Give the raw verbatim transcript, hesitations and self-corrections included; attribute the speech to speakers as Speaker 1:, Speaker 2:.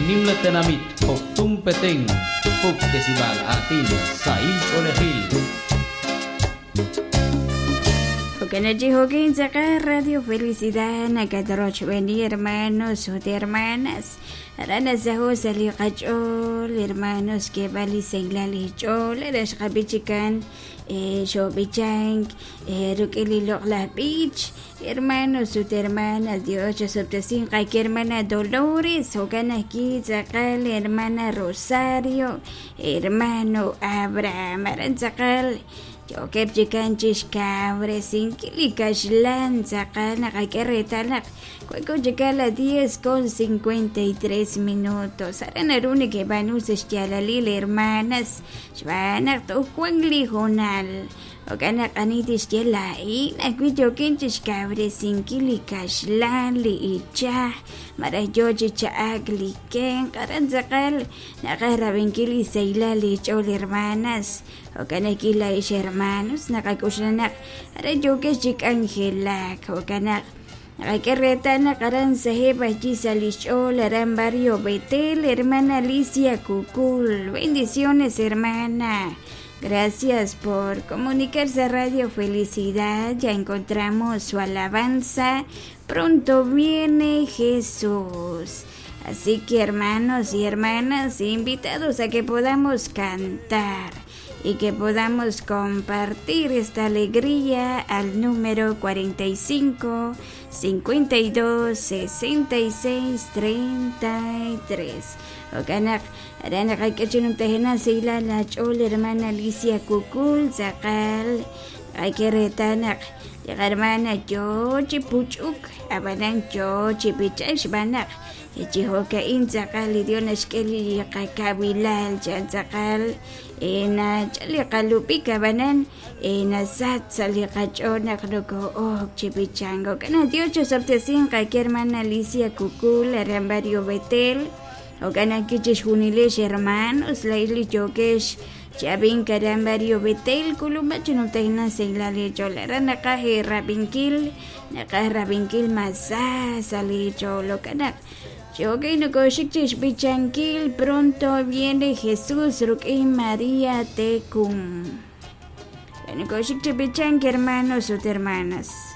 Speaker 1: Nimla tenamit Poptún Petén Puktesibal atin sahil ch'oolejil.
Speaker 2: Jo'kanachi jo'kin tz'aqal Radio Felicidad nakatorochb'eni hermanos ut hermanas aran asajo sa' li qach'ool hermanos xk'eeb'al li sahilal li ch'ool ara xqab'ichikan xob'ichank ruk'in li loq'laj b'ich hermanos ut hermanas Dios chosub'tesin qaki hermana Dolores jo'kan ajki tz'aqal hermana Rosario hermano Abraham aran tz'aqal yokeb' chikan chixkawresinkil li kaxlan tz'aqal naqak'e reetal naq kueku chikan la diez con cincuenta y tres minutos aran naru nekeb'aanu sa' xyaalalil hermanas xb'aan naq toj wan li hoonal jo'kan naq ani tixye laa'in ajwi' yokin chixkawresinkil li kaxlan li ichaj maraj yo chi cha'ak li kenq aran tz'aqal naqaj rab'inkil li sahilal li ch'ool hermanas jo'kan ajki la'ix hermanos naqak'uxla naq aran yokex chi k'anjelak jo'kan naq naqak'e reetal naq aran saheb' ajki sa' li xch'ool aran barrio Betel hermana Alicia Kukul bendiciones hermana. Gracias por comunicarse a Radio Felicidad. Ya encontramos su alabanza. Pronto viene Jesús. Así que hermanos y hermanas, invitados a que podamos cantar y que podamos compartir esta alegría al número cuarenta y cinco, cincuenta y dos, sesenta y seis, treinta y tres. Okanak, arana kakachinum tehena sila la chol hermana Alicia Kukul tzaqal ay que retanak hermana yo chipuchuk abanan yo chipichak xbanak chihokain tzaqal Dios naxk'el qakabilal chan tzaqal ena chali qalupik abanan ena sat sali qach'onaq noko ok chipichango kana Dios chosabtesin qaki hermana Alicia Kukul aran barrio Betel Okan kichish junilesh hermanos la isli yokesh chabin karan barrio Betel kuluma chunutehna seilale cholara naqaje rabinkil naqaj rabinkil masa sali cholo kanak Chokay nokoshik bichankil pronto viene Jesús rukin María Tecum. Nokoshik bichank hermanos ut hermanas.